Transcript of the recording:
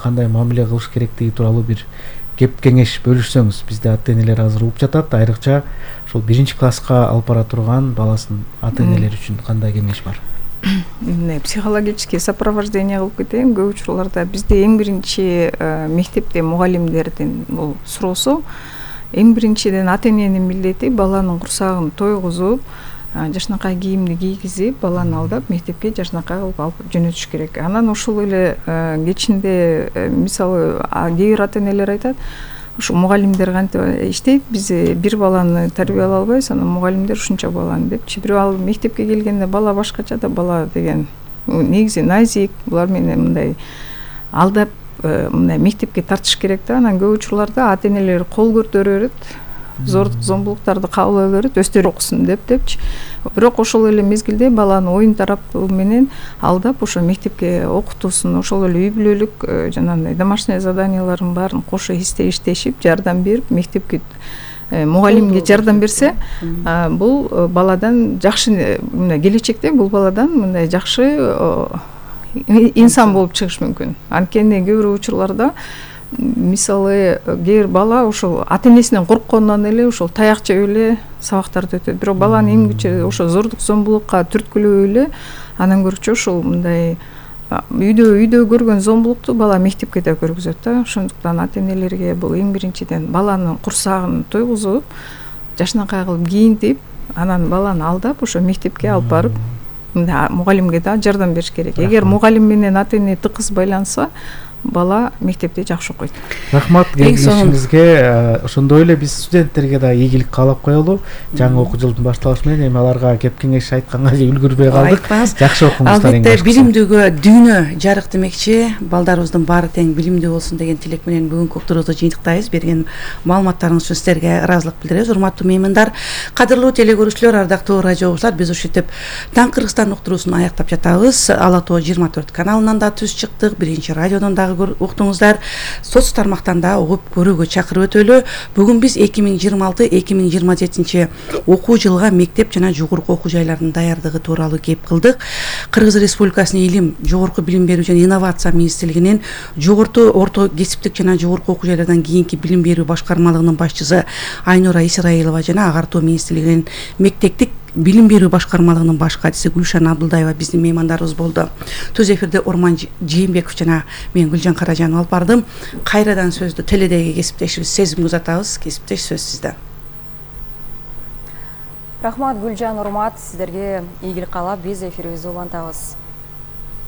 кандай мамиле кылыш керектиги тууралуу бир кеп кеңеш бөлүшсөңүз. Бизде ата-энелер азыр угуп жатат, айрыкча ошол 1-класска алып бара турган баласын ата-энелер үчүн кандай кеңеш бар? Психологический сопровождение кылып кетейин. Көп учурларда бизде эң биринчи мектепте мугалимдердин бул суроосу, эң биринчиден ата-эненин милдети баланын курсагын тойгузуп, жашнакай кийимди кийгизип, баланы алдап мектепке жашнакай кылып алып жөнөтүш керек. Анан ошол эле кечинде мисалы кээ бир ата-энелер айтат, ушу мугалимдер кантип иштейт, биз бир баланы тарбиялай албайбыз, анан мугалимдер ушунча баланы депчи. Бирок ал мектепке келгенде бала башкача да, бала деген негизи назик, булар менен мындай алдап мындай мектепке тартыш керек да. Анан көп учурларда ата-энелер кол көтөрө берет, зордук зомбулуктарды кабыл ала берет, өздөрү окусун депчи. Бирок ошол эле мезгилде баланы оюн тарапы менен алдап ошо мектепке окутуусун, ошол эле үй бүлөлүк жанагындай домашний заданияларын баарын кошо иштешип, жардам берип, мектепке мугалимге жардам берсе, бул баладан жакшы мындай келечекте бул баладан мындай жакшы инсан болуп чыгыш мүмкүн. Анткени кээ бир учурларда мисалы кээ бир бала ошол ата-энесинен коркконунан эле ошол таяк жеп эле сабактарды өтөт. Бирок баланы эмгиче ошо зордук зомбулукка түрткүлөп эле анан көрчү ошол мындай үйдө көргөн зомбулукту бала мектепке да көргүзөт да. Ошондуктан ата-энелерге бул эң биринчиден баланын курсагын тойгузуп, жашнакай кылып кийинтип, анан баланы алдап ошо мектепке алып барып, мугалимге да жардам бериш керек. Эгер мугалим менен ата-эне тыкыз байланса, бала мектепте жакшы окуйт. Рахмат кеңешиңизге. Ошондой эле биз студенттерге да ийгилик каалап коелу. Жаңы окуу жылдын башталышы менен эми аларга кеп кеңеш айтканга үлгүрбөй калдык. Жакшы окуңуздар. Албетте билимдүүгө дүйнө жарык демекчи. Балдарыбыздын баары тең билимдүү болсун деген тилек менен бүгүнкү уктуруубузду жыйынтыктайбыз. Берген маалыматтарыңыз үчүн сиздерге ыраазылык билдиребиз. Урматтуу меймандар, кадырлуу телегөрүүчүлөр, ардактуу радио угуучулар, биз ушинтип Таң Кыргызстан уктуруусун аяктап жатабыз. Ала Тоо 24 каналынан да түз чыктык, Биринчи радиодон да уктуңуздар. Соц тармактан да угуп көрүүгө чакырып өтөлү. Бүгүн биз 2026-2027 окуу жылга мектеп жана жогорку окуу жайларынын даярдыгы тууралуу кеп кылдык. Кыргыз Республикасынын Илим, жогорку билим берүү жана инновация министрлигинин жогорку орто кесиптик жана жогорку окуу жайлардан кийинки билим берүү башкармалыгынын башчысы Айнура Исраилова жана Ага-тоо министрлигинин мектептик билим берүү башкармалыгынын баш катчысы Гүлшан Абдылдаева биздин меймандарыбыз болду. Түз эфирде Орман Жээнбеков жана мен Гүлжан Каражанова алып бардым. Кайрадан сөздү теледеги кесиптешибиз Сезимге узатабыз. Кесиптеш, сөз сизде. Рахмат Гүлжан, урмат, сиздерге ийгилик каалап биз эфирибизди улантабыз.